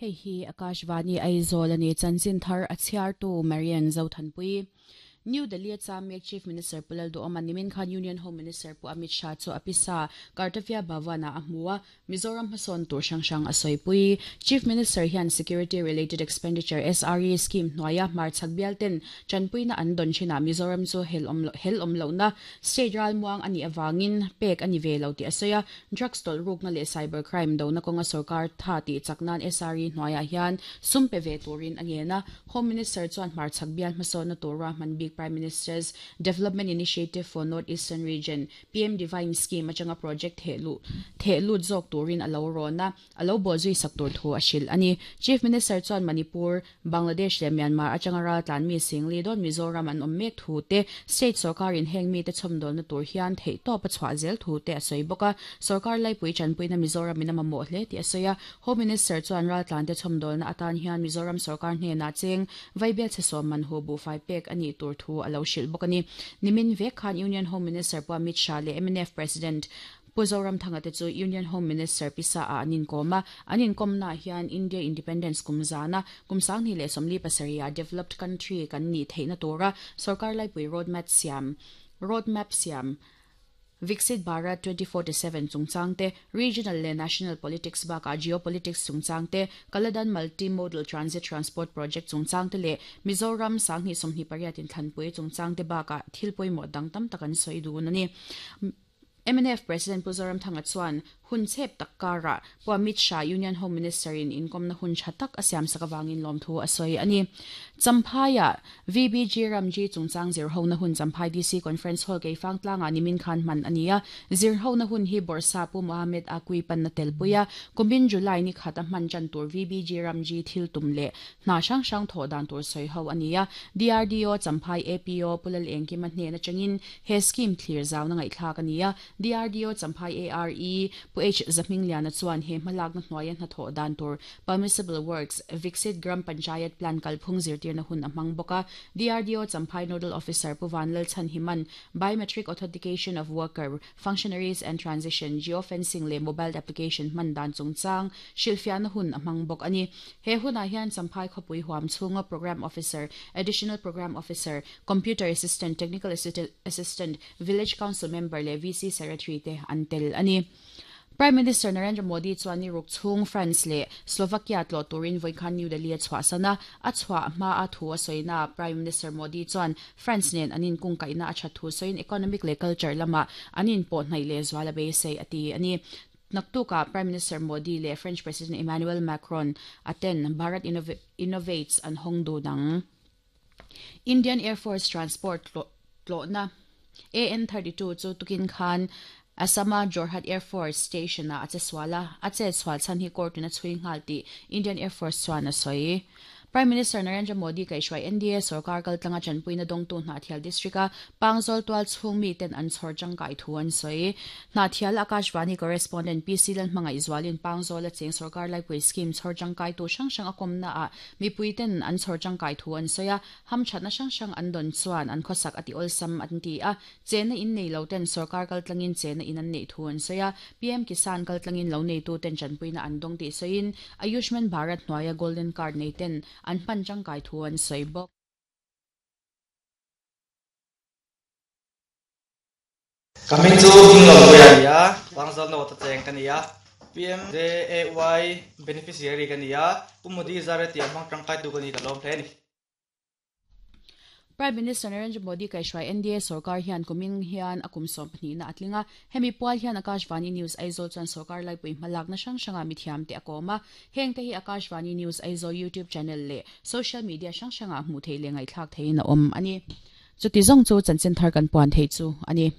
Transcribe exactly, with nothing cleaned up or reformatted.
Hei hi Akashvani Aizawl ani chanchin thar a chhiartu Marian Zothanpui. New Delhi Chamek Chief Minister Pu Lalduhoma nimin khan Union Home Minister Pu Amit Shah chu apisa Kartavya Bhavana a hmua Mizoram hmasawn tur hrang hrang a sawipui. Chief Minister hian Security Related Expenditure S R E scheme hnuaia hmarchhak bial ten chanpuina an dawn thinah Mizoram chu hel awm hel awm lohna state ral muang ani awangin pek ani ve lo ti a sawi a. Drugs tawlh rukna leh cyber crime dona kawnga sarkar tha tih chaknan S R E hnuaiah hian sum pe ve turin a ngena. Home Minister chuan hmarchhak bial hmasawnna tura hman bik Prime Minister's Development Initiative for North Eastern Region P M Divine Scheme atanga project thehlu thehlut zawk turin alo rona alo bozui sak tur thu a hril ani. Chief Minister chuan Manipur, Bangladesh leh Myanmar atanga ral tlan mi singli don Mizoram an awm mek thu te state sarkar in heng mi te chhawmdawl na tur hian theih tawp a chhuah zel thu te a sawi bawk a. Sarkar laipui chanpuina Mizoram in a mamawh hle tih a sawi a. Home Minister chuan ral tlan te chhawmdawl na atan hian Mizoram sarkar hnenah cheng vaibel chhe man hu bu fai pek ani tur thu alo hril bawk ani. Nimin vek khan Union Home Minister Pu Amit Shah leh M N F President Pu Zoramthanga te chu Union Home Minister pisa a anin kawma anin kawmna hian India Independence kumzana kumsangni leh sawmli pasarih developed country kan ni theihna tura sarkar laipui roadmap siam roadmap siam Viksit Bharat twenty forty-seven chungchangte regional le national politics baka geopolitics chungchangte Kaladan multimodal transit transport project chungchangte le Mizoram sangni sawmhnih pariat in thlanpui chungchangte baka thilpui mo dang tam takan sawi dun ani. M N F President Pu Zoramthanga chuan hun chep takkara Pu Amit Shah Union Home Minister in inkom na hun thatak asiam sakawangin lom thu a sawi ani. Champhaya V B G Ramji chungchang zir ho na hun Champhai D C Conference Hall keifang tlanga nimin khan man ania. Zir ho na hun hi Borsa Pu Mohammed Akui pan na telpuia kumin July ni khata man chan tur V B G Ramji thil tum le hna hrang hrang tho dan tur sawi ho ania. D R D O Champhai A P O Pulal Engkima hne na changin he scheme thlir zau na ngai thlak ania. D R D O Champhai A R E Pu H Zahmingliana chuan he hmalak na hnuaia hna thaw dan tur Permissible Works Viksit Gram Panchayat Plan kalphung zirtir na hun a hmang bawk a. D R D O Champhai Nodal Officer Pu Vanlal Chhanhiman Biometric Authentication of Worker Functionaries and Transition Geofencing le Mobile Application hman dan chungchang hrilhfiah na hun a hmang bawk ani. He hunah hian Champhai khawpui huam chhunga Program Officer, Additional Program Officer, Computer Assistant, Technical Assistant, Village Council Member le V C Secretary te an tel ani. Prime Minister Narendra Modi chuan ni ruk chhung France le Slovakia tlo turin voikhan New Delhi a chhuah sana a chhuah hma a thu a sawina. Prime Minister Modi chuan France nen anin kung kaina a that thu sawiin economic le culture lama anin pawh hnaih le zuala beisei ati ani. Naktuka Prime Minister Modi le French President Emmanuel Macron aten Bharat Innov Innovates an hongdu dang. Indian Air Force Transport tlo na A N thirty-two chu tukin khan Asama Jorhat Air Force Station na ache swala ache swal chan hi court na chui ngal ti Indian Air Force chuan a sawi. Prime Minister Narendra Modi kaihruai N D A sarkar kaltlanga chanpuina dawngtu Hnahthial district a Pangzawl tual chhung mi ten an chhawr tangkai thu an sawi. Hnahthial Akashvani correspondent P C Lalhmangaih Zualin Pangzawl a cheng sarkar laipui scheme chhawr tangkai tu hrang hrang a kawmna ah mipui ten an chhawr tangkai thu an sawi a. Hamthatna hrang hrang an dawn chuan an khawsak ati awlsam an ti a. Chena in nei lo ten sarkar kaltlangin chena in an nei thu an sawi a. P M Kisan kaltlangin lo nei tu ten chanpuina an dawng tih sawiin Ayushman Bharat hnuaia Golden Card nei ten an hman tangkai thu an sawi bawk. Kami chu hinglo puia Pangzawl no ta cheng kania P M J A Y beneficiary kania Pu Modi zare ti amang tangkai tu kani ka lom hle ni. Prime Minister Narendra Modi kaihruai N D A sarkar hian kumin hian a kum sawm pahnih na atlinga hemi pual hian Akashvani News Aizawl chuan sarkar laipui hmalak na hrang hranga mithiam te a kawm a. Heng te hi Akashvani News Aizawl YouTube channel le social media hrang hranga hmuh theih leh ngaihthlak theihin a awm ani. Chuti zawng chu chanchin thar kan puan thei chu ani.